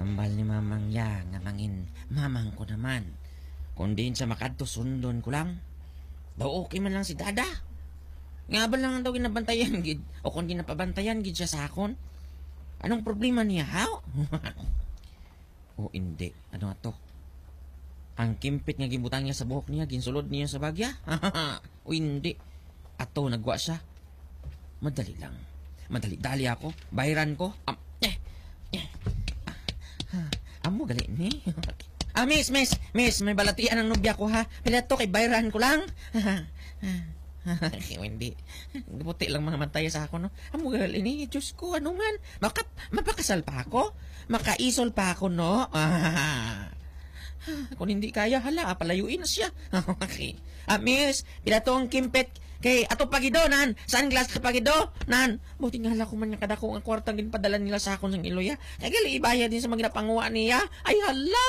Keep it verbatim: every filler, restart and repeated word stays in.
Tambal ni Mamang ya nga mangin mamang ko naman. Kung diin siya makadto, sundon ko lang. Daw okay man lang si Dada. Nga ba lang daw ginabantayan gid, o kung ginapabantayan gid siya sa akon? Anong problema niya, ha? O hindi. Ano ato? Ang kimpit nga gibutang niya sa buhok niya, ginsulod niya sa bagya? O hindi. Ato, nagwa siya. Madali lang. Madali-dali ako. Bayran ko. Am, eh, eh. Ah, amo gali ni. Ah, miss, miss, miss, may balatian ang nobya ko, ha. Pila to kay bayran ko lang. Hindi. Puti lang mga matay sa ako, no? Amo gali ni, Diyos ko, ano man? Maka, mapakasal pa ako? Makaisol pa ako, no? Ah. Kung hindi kaya, hala, palayuin na siya. Okay. Ah, miss, pila to ang kimpit? Kay ato pagido, nan. Sunglass ka pagido, nan. Buti nga hala ko man nga kadako ang kwarta ang ginpadala nila sa akon sang iloya. Kay gali ibayad din sa mga ginapanguha niya. Ay, hala!